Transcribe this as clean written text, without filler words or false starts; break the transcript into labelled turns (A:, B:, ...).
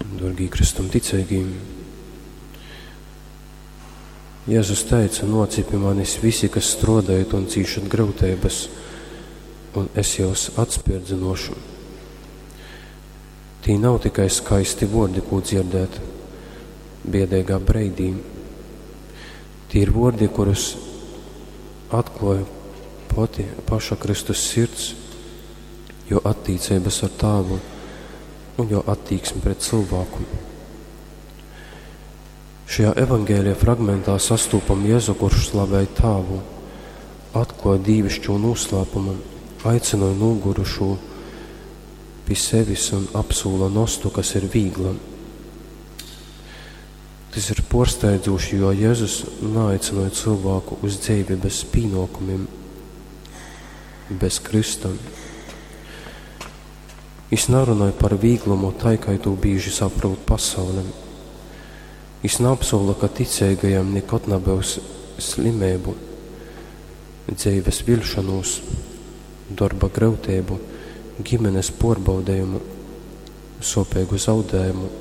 A: Dōrgī Kristum ticeigī, Jezus teica, nōcit pi manis visi, kas strōdojat un cīšat gryuteibas, un es jyus atspērdzynōšu. Tī nav tikai skaisti vōrdi, kū dzierdēt biedeigā breidī. Tī ir vōrdi, kurus atklōja pati paša Kristus sirds, jō attīceibas ar Tāvu un jō attīksmi pret cylvāku. Šajā evaņgēlija fragmentā sastūpam Jezu, kurš slavej Tāvu, atklōj dīvišķū nūslāpumu, aicynoj nūgurušū pi sevis un apsūla nostu, kas ir vīgla. Tys ir pōrsteidzūši, jo Jezus naaicynoj cylvāku uz dzeivi bez pīnōkumim, bez krysta. Jis narunoj par vīglumu tai, kai tū bīži saprūt pasaule. Jis naapsūla, ka ticeigajam nikod nabyus slimeibu, dzeives viļšonūs, dorba gryuteibu, gimenes puorbaudejumu, suopeigu zaudējumu.